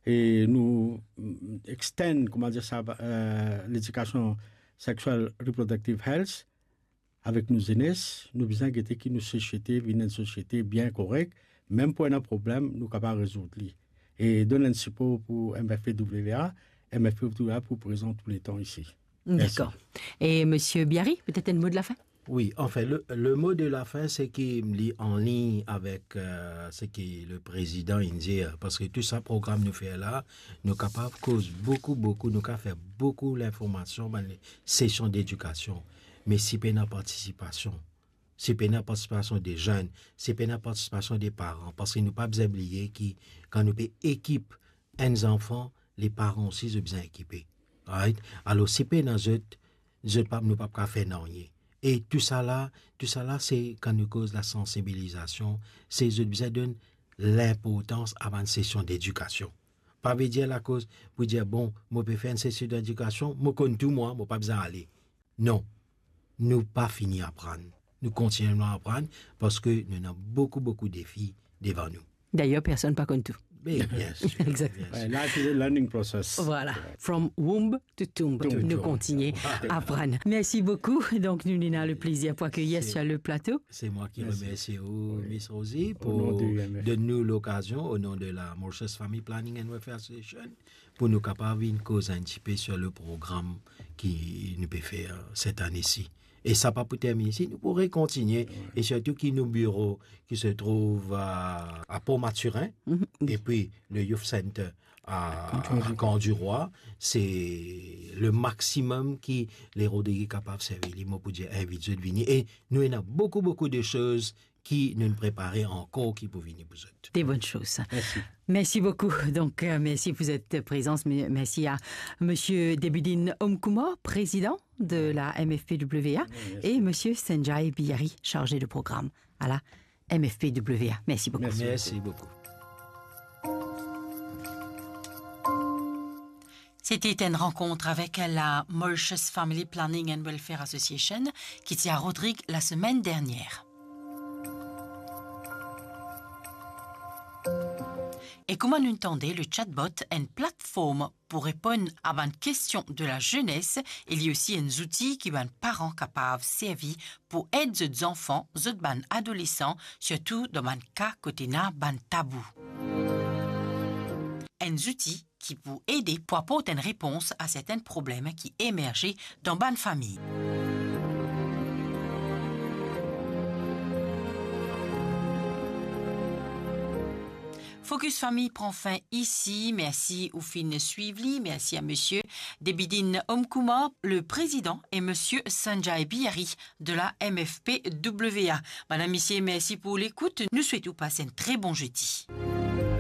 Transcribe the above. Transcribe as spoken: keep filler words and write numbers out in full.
e nou, mm, extend, kouma dir sa, euh, ledikasion sexual reproductive health avek nou zenes, nou bizin gete ki nou sosiete vinn enn sosiete bien korek, mem pou ena problem, nou kapav rezoud li. E donn enn sipor pou M F P W A, M F P W A pou prezan touletan isi. Mersi. Dakor. E Misie Biary, petet enn mo de lafin? Wi, anfin, le, le mo de lafin, se ki li anlign avek, euh, seki le prezidan inn dir, parski tou sa program nou fer la, nou kapav koz boukou, boukou, nou kapav fer boukou linformasion, bann sesion dedikasion. Me si pena partisipasion, si pena partisipasion de zenn, si pena partisipasion de paran, parski nou pa bizin bliye ki kan nou pe ekip enn zanfan, le paran osi, zot bizin ekipe. Right? Alor, si pena zot, zot pa, nou pa kapav fer nanye. E tousala, tousala, se kan nou koz lasansibilizasion, se zot bizin donn linportans a bann sesion dedikasion. Pa ve dir lakoz pou dir, bon, mo pe fer enn sesion dedikasion, mo konn tou mwa, mo pa bizin ale. Non. Nou pa fini aprann. Nou kontinyelman aprann parski nou ena boukou, boukou defi devan nou. Dayer, personn pa konn tou. Be, bien sir, Exact. bien sir. Ouais, life is a learning process. Voilà. From womb to tomb. To Nou tomb. kontigne aprann. Mersi boukou. Donk, nou, nou ena le plezir pou akeyir Se sur le plato. C'est moi qui Merci. remercie vous, Oui. Miss Rosie, Au nom pour du M F. donner nous l'occasion, au nom de la Mauritius Family Planning and Welfare Association, pou nou kapav vinn koz enn tipe sur le program ki nou pe fer set ane si. E sa pa pou termine isi, nou pou rekontigne, Wi. e sirtou ki nou biro ki se trouv a, a Port Mathurin, Mhm. epi le Youth Center a, Camp du Roi. a Camp du Roi, se le maximum ki le Rodrigué kapav servi li, mo pou dir invit zot vini. E nou ena boukou, boukou de soz ki nou prepare ankor ki pou vini pou zot. Des bonnes choses. Merci. Merci beaucoup. Donc, euh, merci pour cette présence. Me-, merci à Monsieur Debidine Omkoumor, président de la M F P W A, Merci. et Monsieur Sanjay Bihari, chargé de programme à la M F P W A. Merci beaucoup. Merci Merci beaucoup. beaucoup. C'était une rencontre avec la Mauritius Family Planning and Welfare Association qui était à Rodrigues la semaine dernière. E kouma nou tande, le chatbot, enn platform pou reponn a bann kestion de la jeunesse, e li osi enn zouti ki bann paran kapav servi pou ed zot zanfan, zot bann adolesan, sirtou dan bann ka kot ena bann tabou. Enn zouti ki pou ede pou aport enn repons a sertin problem ki emerze dan bann fami. Focus Famille pran fin isi. Mersi ou finn swiv li. Mersi a Monsieur Debidine Omkoumor, le président, et Monsieur Sanjay Bihari de la M F P W A. Madame, Messieurs, merci pour l'écoute. Nou swet ou pas un très bon jeudi.